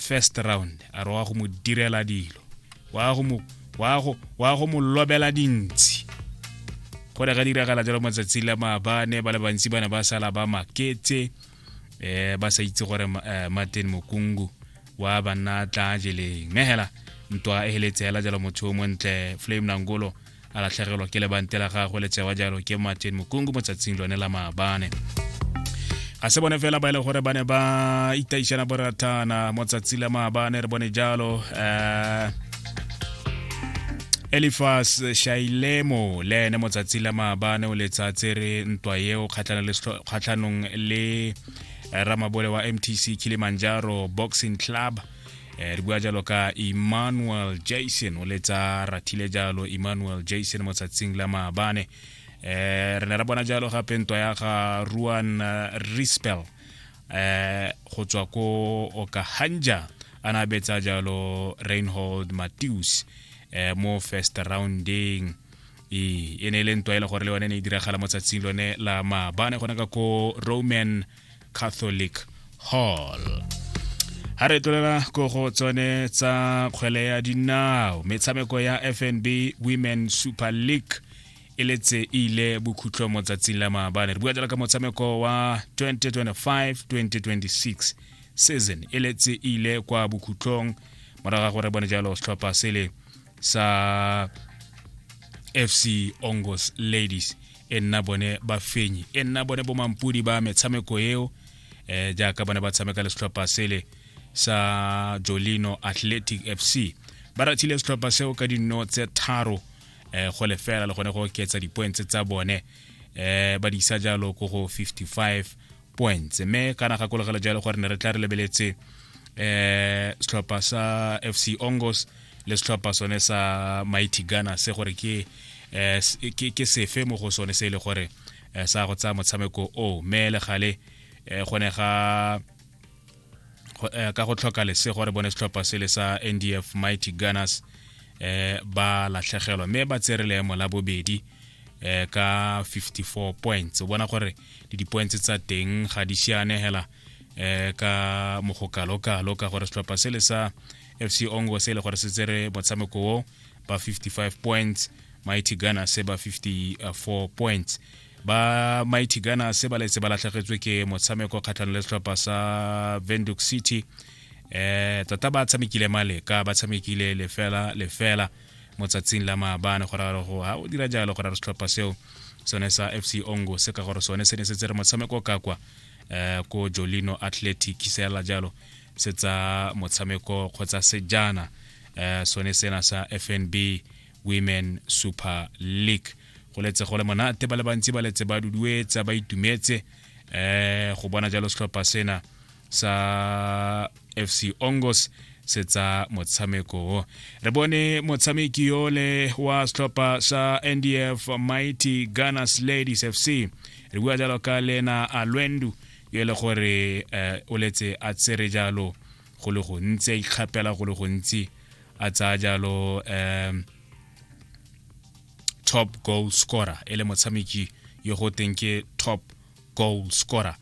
First round a re wa go mo direla dilo, wa go mo wa go wa go mo lobela dintsi. Go ne ga diragala jalo matsatsi la maabane, ba le bantsi ba ne ba sala ba maketse, ba sa itse gore Martin Mokungu wa banna tla jeleng. Mme hela ntwa e heletse hela jalo, motho o montle Flame Nangolo a latlhegelwa ke lebante la gagwe le tsewa jalo ke Martin Mokungu mo tsatsing lone la maabane. Ga se bone fela ba e le gore ba ne ba itaišana borathana mo tsatsi la maabane, re bone jalo Elifas Shailemo le ene mo tsatsi la maabane o letsa tsere ntwa eo kgatlhanong le ramabole wa MTC Kilimanjaro Boxing Club. Re bua jalo ka Emmanuel Jason, o letsa rathile jalo Emmanuel Jason mo tsatsing la maabane. Re ne ra bona jalo gape ntwa ya ga Ruan Rispel go tswa ko Okahanja, a na betsa jalo Reinhold Matthews mo first rounding. E ne e le ntwa e le gore le yone ne e diragala mo tsatsing lone la maabane gone ka ko Roman Catholic Hall. Ha re tlolela ko go tsone tsa kgwele ya dinao, metshameko ya FNB Women Super League e letse e ile bokhutlo mo tsatsing la maabane. Re bua jalo ka motshameko wa 2025-2026 season e letse e ile kwa bokhutlong morago ga gore bone jalo setlhopha sele sa FC Ongos Ladies e nna bone bafenyi, e nna bone bomampudi ba metshameko eo, jaaka bone ba tshameka le setlhopha sele sa Jolino Athletic FC. Ba rathile setlhopha seo ka dinno tse 3 go lefela, le gone go oketsa di-points tsa bone, ba di isa jalo ko go 55 points. Mme kana gakologela jalo gore ne re tla re lebeletse setlhopha sa FC Ongos le setlhopha sone sa Mighty Ghana se gore ke ke sefe mo go sone se e le gore sa go tsaya motshameko o. Mme le gale gone ga ka go tlhoka lesego re bone setlhopha sele sa NDF Mighty Gunners ba latlhegelwa, mme ba tsere leemo la bobedi ka 54 points. O bona gore le di-points tsa teng ga di siane hela ka mogokalo-kalo, ka gore setlhopha sele sa FC Ongo se le gore se tsere motshameko o ba 55 points, Mighty Ghana se ba 54 points. Ba Mighty Ghana se ba letse ba latlhegetswe ke motshameko kgatlhanong le setlhopha sa Windhoek City. Tota ba tshamekile maleka, ba tshamekile lefela lefela mo tsatsing la maabane, gore re go ha o dira jalo gore re setlhopha seo sone sa FC Ongo se, ka gore sone se ne se tsere motshameko ka kwa ko Jolino Athletic, se jalo se tsa motshameko kgotsa sejana sone sena sa FNB Women Super League. Go letse go le monate, ba le bantsi ba letse ba duduetsa, ba itumetse go bona jalo setlhopha sena sa FC Ongos se tsa motshameko o. Re bone motshameki yole wa setlhopha sa NDF Mighty Gunners Ladies FC, re bua jalo ka Lena Alwendu, yo e le gore o letse a tsere jalo go le gontsi, a ikgapela go le gontsi, a tsaya jalo top goal scorer, e le motshameki yo go teng ke top goal scorer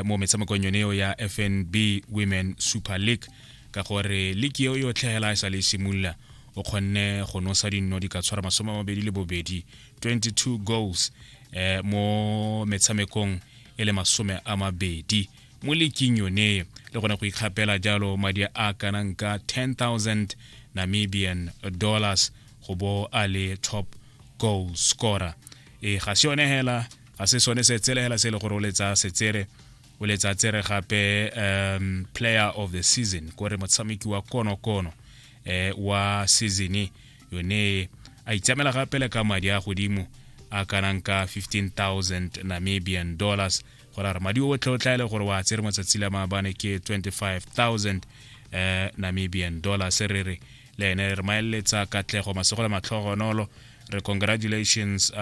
mo metshamekong yone eo ya FNB Women Super League, ka gore league eo yotlhe hela e sa le simolola o kgonne go nosa dinno di ka tshwara 22, 22 goals mo metshamekong e le 20 mo leaking yone, le gone go ikgapela jalo madi a kanang ka 10,000 Namibian dollars go bo a le top goal scorer. E ga se yone hela, ga se sone se tsele hela se e le gore o letsa setsere, o letsa tsere gape player of the season, kore motshameki wa konokono wa season yone, a itsamela gape le ka madi a godimo a kanang ka 15,000 Namibian dollars, gore a re madi otlhe o tla e le gore wa tsere motsatsi la maabane ke 25,000 Namibian dollars. Re re le ene re maeletsa katlego, masego le matlhogonolo, re congratulations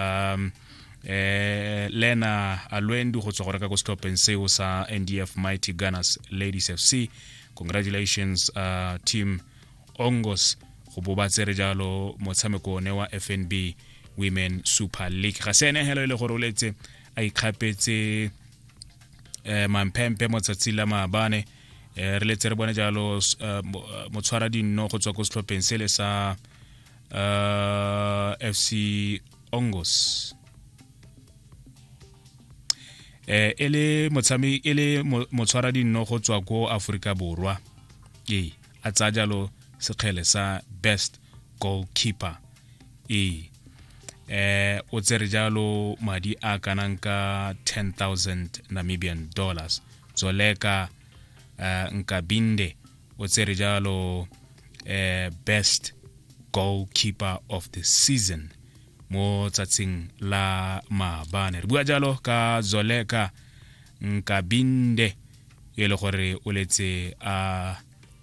Lena Alwendu go tswa go reka ko setlhopheng seo sa NDF Mighty Gunners Ladies FC. Congratulations team Ongos go bo ba tsere jalo motshameko one wa FNB Women Super League. Ga se ene helo e le gore o letse a ikgapetse mamphempe mo tsatsi la maabane. Re letse re bone jalo motshwara dinno go tswa ko setlhopheng sele sa FC Ongos, e le motshameki, e le motshwara dinno go tswa ko Aforika Borwa, ee, a tsaya jalo sekgele sa best goalkeeper. Ee, o tsere jalo madi a kanang ka 10,000 Namibian dollars. Zoleka Nkabinde o tsere jalo best goalkeeper of the season mo tsatsing la maabane. Re bua jalo ka Zoleka Nkabinde, e le gore o letse a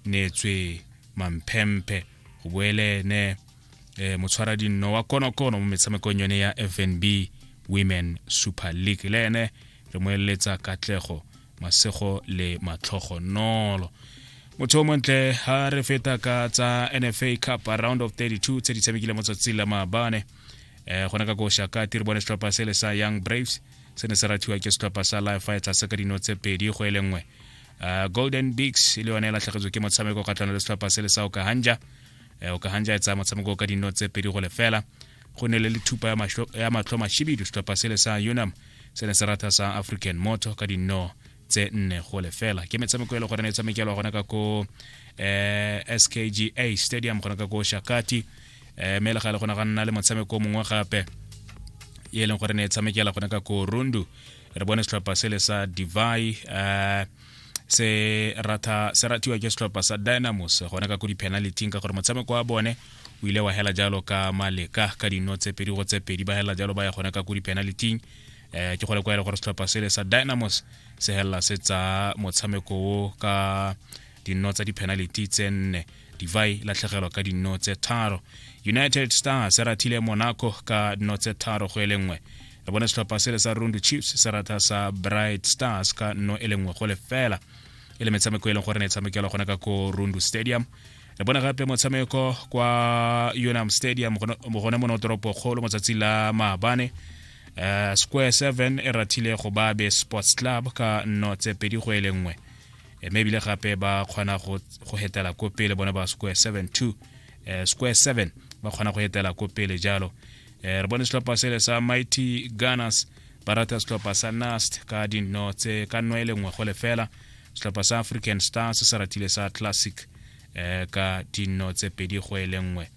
neetswe mamphemphe go boele ene motshwara dinno wa konokono mo metshamekong yone ya FNB Women Super League. Le ene re mo eletsa katlego, masego le matlhogonolo. Motho o montle, ha re feta ka tsa NFA Cup round of 32 tse di tshamekile mo tsatsing la maabane, gona ka ko Shakati re bone setlhopha sele sa Young Braves se ne se rathiwa ke setlhopha sa Life Fighters ka dino tse 2-1. Golden Bigs le yone e latlhegetswe ke motshameko kgatlhanong le setlhopha sele sa Okahanja. Okahanja e tsaya motshameko ka dino tse 2-0. Go ne le lethupa ya matlho mashibidu, setlhopha sele sa Unam se ne se ratha sa African Motor ka dino tse 4-0. Ke metshameko e le gore ne e tshamekelwa gona ka ko SKGA Stadium gona ka ko Shakati. Mme le gale go ne ga nna le motshameko o mongwe gape e leng gore ne e tshamekela gona ka ko Rundu. Re bone setlhopha sele sa Divai se ratha, se rathiwa ke setlhopha sa Dynamos gona ka ko di-penaltyng, ka gore motshameko wa bone o ile wa hela jalo ka maleka ka dino tse 2-2, ba hela jalo ba ya gona ka ko di-penaltyng. Ke gole kwa e le gore setlhopha sele sa Dynamos se helela se tsa motshameko o ka dino tsa di-penalty tse 4, Divai latlhegelwa ka dino tse 3. United Stars se rathile Monaco ka dino tse 3-1. Re bone setlhopha sele sa Rundu Chiefs se ratha sa Bright Stars ka 0-1, e le metshameko e leng gore ne e tshamekelwa gona ka ko Rundu Stadium. Re bone gape motshameko kwa Unam Stadium gone mo toropo kgolo motsatsi la maabane, Square 7 e rathile go Babe Sports Club ka nno tse 2-1, mme ebile gape ba kgona go hetela ko pele bone ba Square 7 2, Square 7 ba kgona go etela ko pele jalo. Re bone setlhopha sele sa Mighty Gunners ba rata setlhopha sa Nast ka dino tse ka 0-1. Setlhopha sa African Stars se ratile sa Classic ka dino tse 2-1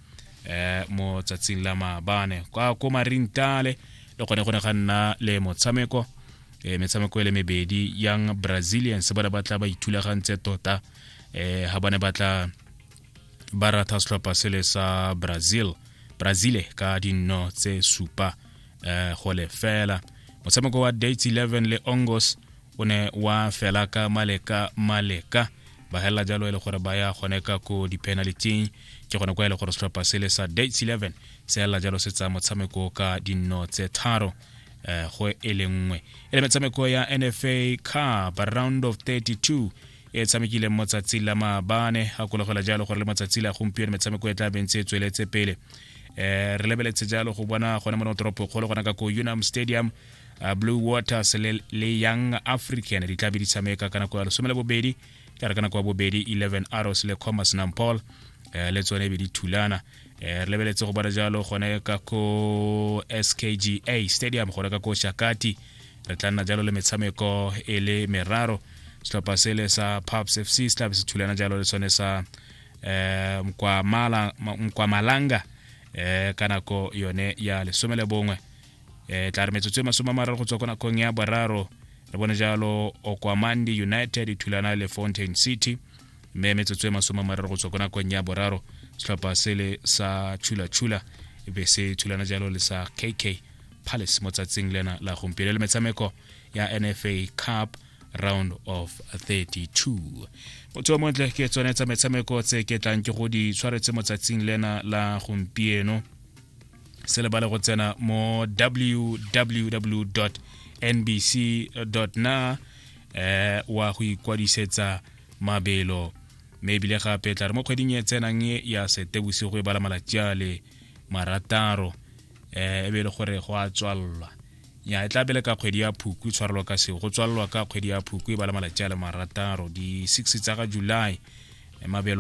mo tsatsing la maabane. Kwa ko Marintale le gone go ne ga nna le motshameko, metshameko e le mebedi. Young Brazilians ba ne ba tla ba ithulagantse tota ha ba ne ba tla ba ratha setlhopha sele sa Brazil, Brazile ka dino tse 7-0. Motshameko wa Dates 11 le Ongos o ne wa fela ka maleka maleka, ba helela jalo e le gore ba ya gone ka ko di-penaltyng. Ke gone kwa e le gore setlhopha sele sa Dates 11 se helela jalo se tsaya motshameko ka dino tse 3-1. E le metshameko ya NFA Cup round of 32 e tshamekileng mo tsatsing la maabane. Gakologela jalo gore le matsatsi la gompieno metshameko e tla bentse e tsweletse pele. Re lebeletse jalo go bona gone mo toropo kgolo gona ka ko Unam Stadium, Blue Waters le Young African di tla be di tshameka ka nako ya 12, ka re ka nako ya bobedi 11 Arrows le Commerce Nampol le tsone be di thulana. Re lebeletse go bona jalo gone ka ko SKGA Stadium gone ka ko Shakati, re tla nna jalo le metshameko e le meraro. Setlhopha sele sa Pubs FC se tla be se thulana jalo le sone sa Mkwamalanga ka nako yone ya 11. Tla re metsotso e 30 go tswa ko nakong ya boraro re bone jalo Okwamandi United e thulana le Fountain City, mme metsotso e 30 go tswa ko nakong ya boraro setlhopha sele sa Chula Chula e be se thulana jalo le sa KK Palace mo tsatsing lena la gompieno, le metshameko ya NFA Cup round of 32. Motho o montle, ke tsone tsa metshameko tse ke tlang ke go di tshwaretse mo tsatsing lena la gompieno. Se lebale go tsena mo www nbc na wa go ikwadisetsa mabelo, mme ebile gape tla re mo kgweding e tsenang ya Setebosigo e bala malatsi a le 6, e be e le gore go a tswalelwa. Ya, e tla bele ka kgwedi ya Phukwi, tshwarelwa ka seo go tswalelwa ka kgwedi ya Phukwi, ba le malatsi a le 6, di 6 tsa ga July, mabelo.